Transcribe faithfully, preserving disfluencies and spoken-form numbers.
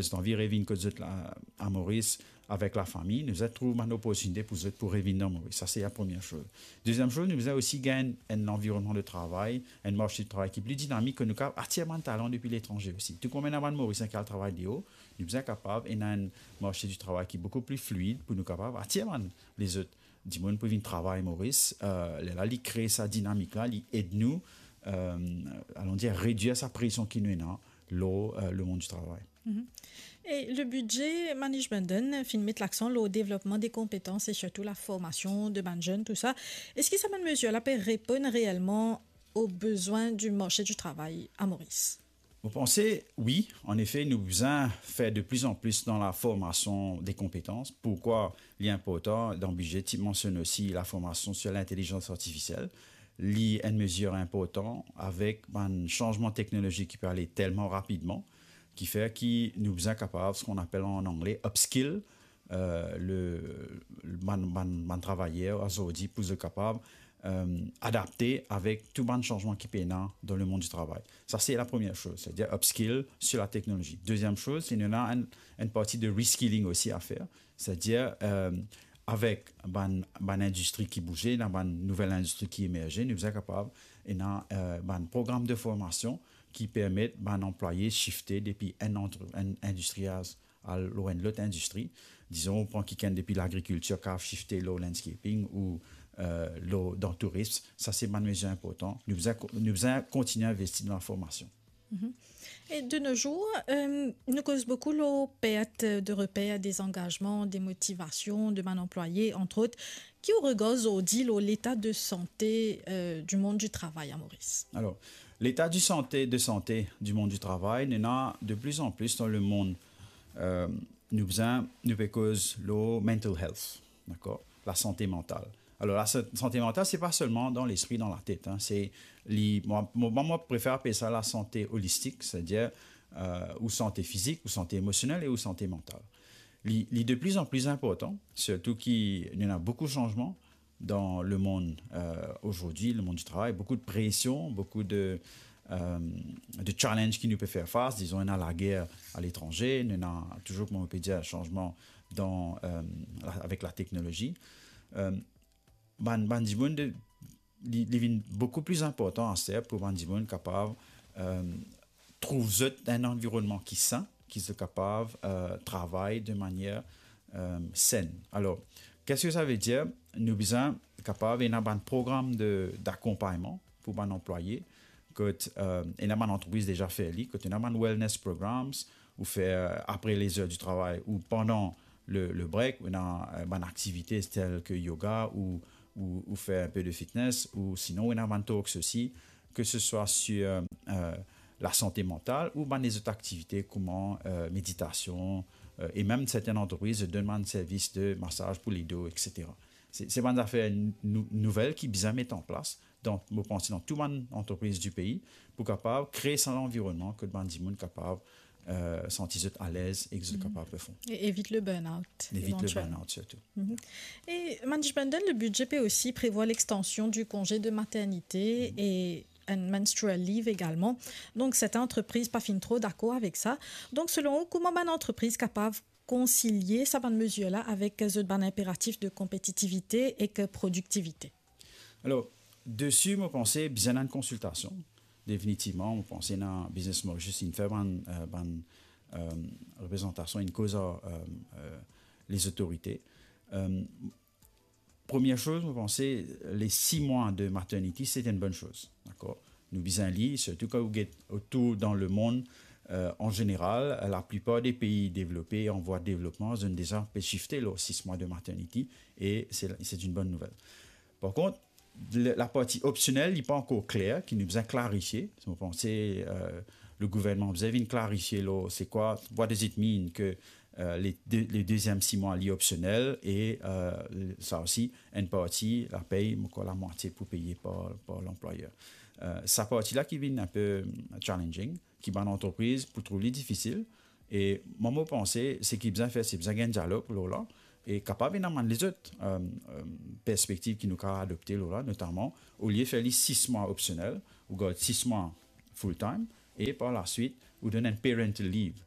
zot anvi revinn kot zot la, a Moris, avek lafami, nou bizin trouv bann loportinite pou zot pou revinn dan Moris. Sa se la premie soz. Deziem soz, nou bizin osi gagn enn lanvironnman de travay, enn marse de travay ki pli dinamik, ke nou kapav atir bann talan depi letranze osi. Tou kouma ena bann Morisien ki al travay deor, nou bizin kapav ena enn marse de travay ki boukou pli fluid pou nou kapav atir bann lezot dimoun pou vinn travay Moris. Eh, lerla li kre sa dinamik la, li ed nou, eh, alon dir, redwir sa presion ki nou ena lor, eh, lemond di travay. Mhm. E le bidze Manish Bhundan finn met laksan lor devlopman de konpetans e sirtou laformasion de bann zenn, tou sa. Eski sa bann mezir la pe reponn reelman o bezwin di marse di travay a Moris? Mo panse, wi, anefe, nou bizin fer de pli an pli dan laformasion de konpetans. Poukwa li inportan dan bidze, ti mansionn osi laformasion sir lintelizans artifisiel. Li enn mezir inportan avek bann sanzman teknolozik ki pe ale telman rapidman, ki fer ki nou bizin kapav, seki apel an angle, upskill, eh, le, bann, bann, bann travayer azordi pou zot kapav, eh, adapte avek tou bann sanzman ki pena dan lemond di travay. Sa se la premie soz, setadir upskill sir lateknolozi. Deziem soz, se nou ena enn, enn parti de reskilling osi a fer, setadir, eh, avek bann, bann indistri ki bouze, ena bann nouvel indistri ki emerze, nou bizin kapav ena, eh, bann program de formasion ki permet bann anplwaye sifte depi enn antre-, enn indistri al lor enn lot indistri. Dizon, ou pran kikenn depi lagrikiltir, kapav sifte lor landscaping ou, eh, lor, dan tourism. Sa se bann mezir inportan. Nou bizin ko-, nou bizin kontigne investi dan laformasion. Mhm. E de nos jours, eh, nou koz boukou lor pert de reper, dezangazman, demotivasion de bann anplwaye, antrot. Ki ou regar zordi lor leta de sante, eh, di mond di travay a Moris? Alor, leta di sante, de sante di mond di travay, nou ena de pli an pli dan lemond, eh, nou bizin, nou pe koz lor mental health, dakor? Lasante mantal. Alor, lasa-, sante mantal, se pa selman dan lespri, dan latet, hein, se li, mwa, mwa, mwa, mo prefer apel sa lasante olistik, setadir, eh, ou sante fizik, ou sante emosionel e ou sante mantal. Li, li de pli an pli inportan, sirtou ki nou ena boukou sanzman dan lemond, eh, azordi, lemond di travay, boukou de presion, boukou de, eh, de challenge ki nou pe fer fas, dizon, ena lager aletranze, nou ena touzour, kouma nou pe dir, sanzman dan, eh, la, avek lateknolozi. Eh, bann, bann dimoun de, li, li vinn boukou pli inportan aster pou bann dimoun kapav, eh, trouv zot dan enn anvironnman ki sin, ki zot kapav, eh, travay de manier, eh, senn. Alor, qu'est-ce que ça veut dire? Nou bizin kapav ena bann program de, dakonpagnman pou bann anplwaye, kot, eh, ena bann antrepriz deza fer li, kot ena bann wellness programs, ou fer apre les heures du travail, ou pandan le, le break, ou ena, eh, bann aktivite tel ke yoga, ou, ou, ou fer enpe de fitness, ou sinon, ou ena bann talks osi, ke se swa sir, eh, lasante mantal ou bann lezot aktivite kouma, eh, meditasion, eh, e mem sertenn antrepriz donn bann servis de masaz pou ledo, et cetera. Se, se bann zafer nou-, nouvel ki bizin met an plas dan, mo panse, dan tou bann antrepriz di pei pou kapav kree sa lanvironnman kot bann dimoun kapav, eh, santi zot alez e ki zot kapav perform. E evit le burn-out, evantielman. Evit le burn-out sirtou. Mhm. E Manish Bhundan, le bidze pe osi prevwar lextansion di konze de maternite e enn menstrual leave egalman. Donk, sertenn antrepriz pa finn tro dakor avek sa. Donk, selon ou, kouma bann antrepriz kapav konsilie sa bann mezir la avek zot bann inperatif de konpetitivite ek prodiktivite? Alor, desi, mo panse, bizin enn konsiltasion. Definitivman, mo panse ena Business Mauritius inn fer bann, eh, bann, eh, reprezantasion, inn koz ar, eh, eh, lezotorite. Eh, premie soz, mo panse, le sis mwa de maternity, se enn bonn soz, dakor? Nou bizin li, sirtou kan ou get otour dan lemond, eh, an zeneral, laplipar de pei devlope, an vwa de devlopman, zot inn deza pe sifte lor sis mwa de maternity, e se, se enn bonn nouvel. Par kont, le, laparti opsionel, li pa ankor kler, ki nou bizin klarifie. Mo panse, eh, le gouvernman bizin vinn klarifie lor se kwa, what does it mean ke, eh, le de-, le deziem sis mwa, li opsionel e, eh, sa osi, enn parti, lapey, mo krwar lamwatie pou peye par, par lanplwayer. Eh, sa parti la ki vinn enpe, mm, challenging, ki bann antrepriz pou trouv li difisil. E mwa, mo panse, seki bizin fer, se bizin gagn dialog lor la, e kapav ena bann lezot, eh, eh, perspektiv ki nou kapav adopte lor la, notaman, olie fer li sis mwa opsionel, ou gard sis mwa full time, e par laswit, ou donn enn parental leave.